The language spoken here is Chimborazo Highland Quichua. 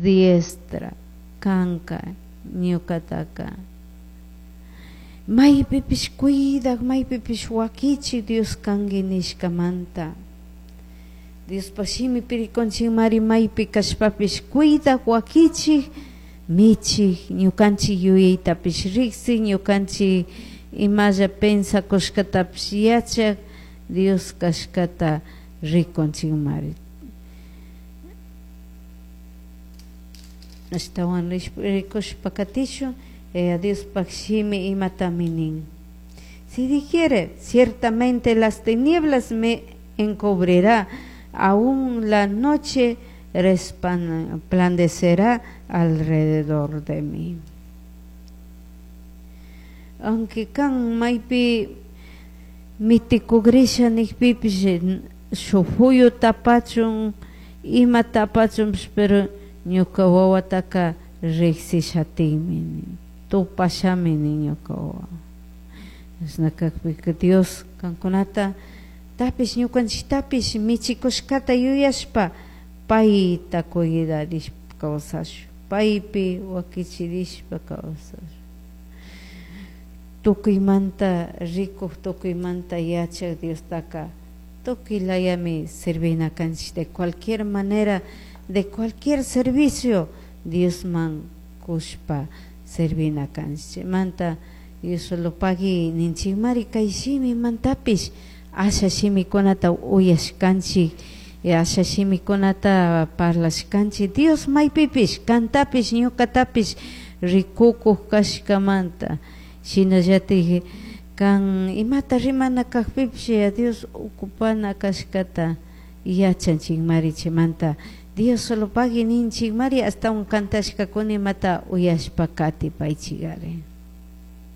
diestra kanka ñucataca maypipish cuidak, maypipish wakichik Dios kanki nishkamanta. Diospaj shimipi rikunchikmari maypi kashpapish cuidak, wakichik, michik, ñukanchik yuyaytapish riksik, ñukanchik imalla pensakushkatapish yachak Dios kashkata rikunchikmari. Ashtawan rikushpa katishun Diospaj shimi imatami nin. Si dijere, ciertamente las tinieblas me encubrirá, aún la noche resplandecerá alrededor de mí. Aunque kan maypi mitikugrisha nikpipish shuk fuyu tapachun ima tapachunpish, pero ñuka wawataka riksishatinmi, tupashami nin ñuka wawa. Chashna kakpika Dios kankunata tapish ñukanchiktapish michikushkata yuyashpa payta cuidarishpa kawsashun, paypi wakichirishpa kawsashun. Tukuymanta rikuk, tukuymanta yachak Diostaka tukuy layami servina kanchik, de cualquier manera, de cualquier servicio Diosman kushpa servina kanchik. Chaymanta Dios solo pagui ninchikmari kay shimimantapish asha shimikunata uyashkanchik, asha shimikunata parlashkanchik. Dios maypipish kantapish ñukatapish rikukuk kashkamanta, shinallatik kan imata rimana kakpipish Dios ocupana kashkata yachanchikmari. Chaymanta Dios solo pagui ninchikmari, ashtawan kantashkakuna imata uyashpa katipaychikari.